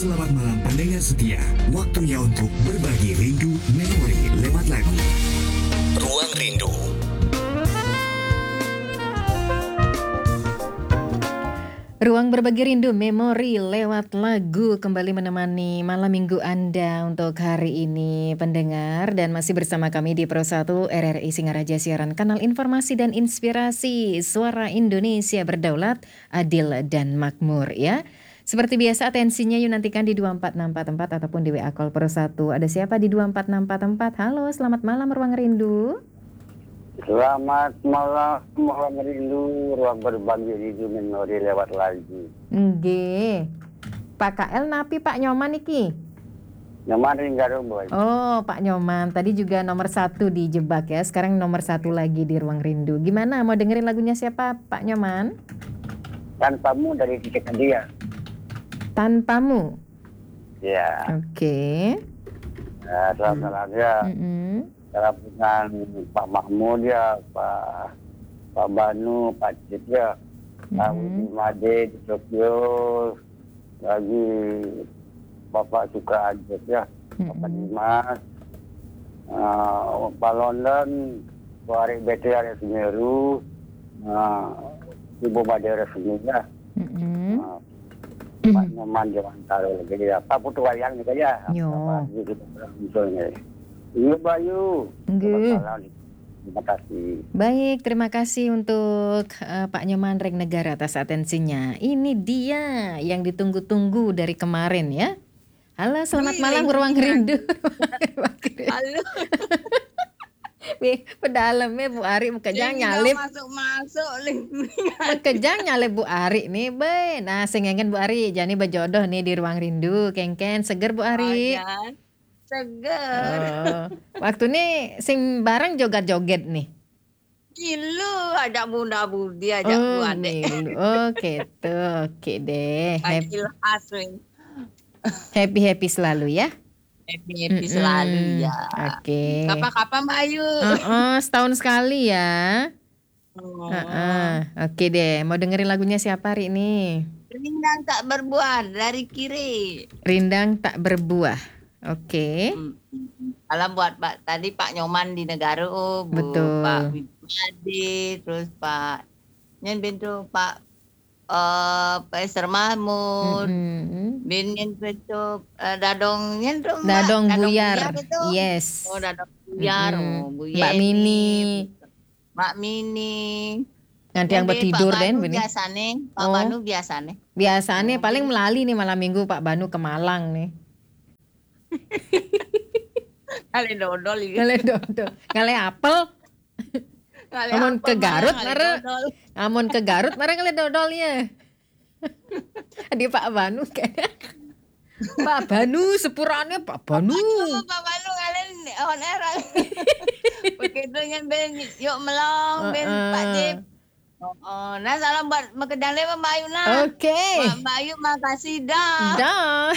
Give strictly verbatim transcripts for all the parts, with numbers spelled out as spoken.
Selamat malam pendengar setia. Waktunya untuk berbagi rindu memori lewat lagu. Ruang Rindu. Ruang berbagi rindu memori lewat lagu kembali menemani malam minggu Anda untuk hari ini, pendengar, dan masih bersama kami di Pro satu R R I Singaraja, siaran kanal informasi dan inspirasi, suara Indonesia berdaulat, adil dan makmur, ya. Seperti biasa, atensinya you nantikan di dua empat enam empat empat ataupun di W A Call Pro satu. Ada siapa di dua empat enam empat empat? Halo, selamat malam Ruang Rindu. Selamat malam, Ruang Rindu, ruang berbagi rindu memori lewat lagu. Nggih. Pak K L napi, Pak Nyoman iki? Nyoman ring Garung, Boy. Oh, Pak Nyoman. Tadi juga nomor satu dijebak, ya. Sekarang nomor satu lagi di Ruang Rindu. Gimana? Mau dengerin lagunya siapa, Pak Nyoman? Tanpamu dari Titik Hadiah. Tanpamu. Ya, Oke. ya, selamat malam ya. Mm-mm. Salam dengan Pak Mahmud ya, Pak Pak Banu, Pak Cip ya, Pak Mm-mm. Widi Made di Tokyo, lagi Bapak Suka Ajat ya, Bapak Mm-mm. Dimas, eh, Pak London, Pak Arik Bete, Arik Semeru, eh, Ibu Made Resmi ya, Mm-mm. eh, Pak Nyoman Dewan Taro lagi ya, Pak Putu Wayang juga ya. Yo. Apa lagi kita muncul nih. Iya, Bayu. Nggih. Selamat malam. Terima kasih. Baik, terima kasih untuk eh, Pak Nyoman Regnegara atas atensinya. Ini dia yang ditunggu-tunggu dari kemarin, ya. Halo, selamat Wih, malam ini Ruang dia. Rindu. Halo. Wih, pedalem ya Bu Ari, makejang Sing nyalip. Masuk-masuk ling. Makejang nyalip Bu Ari nih, be. Nah, sing engen Bu Ari, jani bejodoh nih di Ruang Rindu, kengken seger Bu Ari. Ayan. Seger. Oh, waktu nih sing bareng joget-joget nih. Gila, ajak bunda budi, ajak Oh, bu adik. milu. Oke tuh, oke deh. Happy Gila asli. happy, happy selalu ya. Happy happy Mm-mm. Selalu ya. Oke. Kapan-kapan Mbak Ayu. Heeh, setahun sekali ya. Oh. Heeh. Oke deh, mau dengerin lagunya siapa hari ini? Rindang tak berbuah dari kiri. Rindang tak berbuah. Oke. Hmm. Salam buat Pak tadi Pak Nyoman di Negara, oh, Bu, Betul. Pak Widmade, terus Pak Nyen Bintu, Pak eh Pak Esther Mahmud, Mm-mm. Bin Nyen Bintu, eh, Dadong Nyen tu, Mbak. Dadong Buyar. Buyar itu. Yes. Oh, Dadong Buyar, Mm-mm. oh, Bu Mbak Yeni, Mini. Mbak Mini. Nganti yang Yang di betidur Pak deh Banu ini. Biasane, Pak Oh. Banu biasane. Biasanya Oh. Paling melali nih malam minggu Pak Banu ke Malang nih. Kali dodol iki. Ngale dodol, ngale apel. Kali Amun apa, ke Garut, Mbak? Kali mare. Dodol. Amun ke Garut mare ngale dodol ya. Di Pak Banu kayaknya. Pak Banu, sepurane Pak Banu. Aduh, Pak Banu ngalen on air. Begitu nyen ben yuk melong ben Heeh. Pak Dip. Oh, oh. Nah, salam buat Mekedang Lewat Mbak Ayu nah. Oke. Mbak, Mbak Ayu makasih dah. Dah.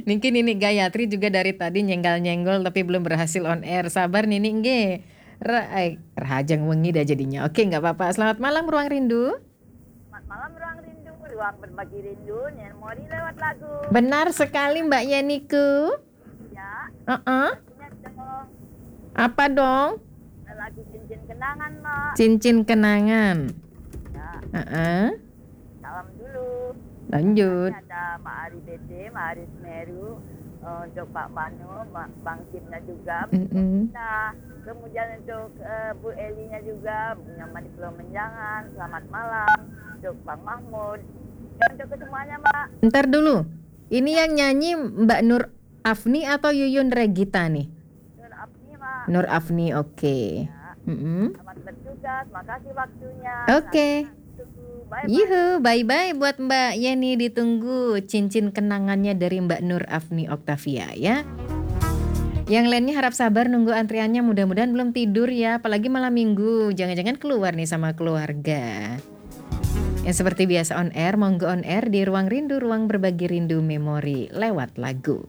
Niki Nini Gayatri juga dari tadi nyenggol-nyenggol tapi belum berhasil on air. Sabar Nini nggih. Re eh, Rahajeng wengi dah jadinya. Oke, nggak apa-apa. Selamat malam Ruang Rindu. Selamat malam Ruang Rindu, ruang berbagi rindu, memori lewat lagu. Benar sekali Mbak Yeniku. Ya, Heeh. punya dong Apa dong? Lagu Cincin Kenangan, Mak. Cincin kenangan. Ya, Heeh. Salam dulu. Lanjut. Ini ada Mak Ari B D, Mak Ari Semeru, eh, untuk Pak Banu, Ma- Bang Kimnya juga. Mm-mm. Nah, kemudian untuk eh, Bu Elinya juga, Nyoman di Pulau Menjangan, selamat malam. Untuk Bang Mahmud. Dan untuk kesemuanya, Mak. Ntar dulu. Ini yang nyanyi Mbak Nur Afni atau Yuyun Regita nih? Nur Afni, Mak. Nur Afni, oke. Mm-mm. Selamat bertugas, makasih waktunya. Oke. Tunggu. Bye-bye. Yuhu, bye-bye buat Mbak Yeni. Ditunggu cincin kenangannya dari Mbak Nur Afni Octavia ya. Yang lainnya harap sabar nunggu antriannya, mudah-mudahan belum tidur ya, apalagi malam minggu, jangan-jangan keluar nih sama keluarga. Yang seperti biasa on air, monggo on air di Ruang Rindu, ruang berbagi rindu memori lewat lagu.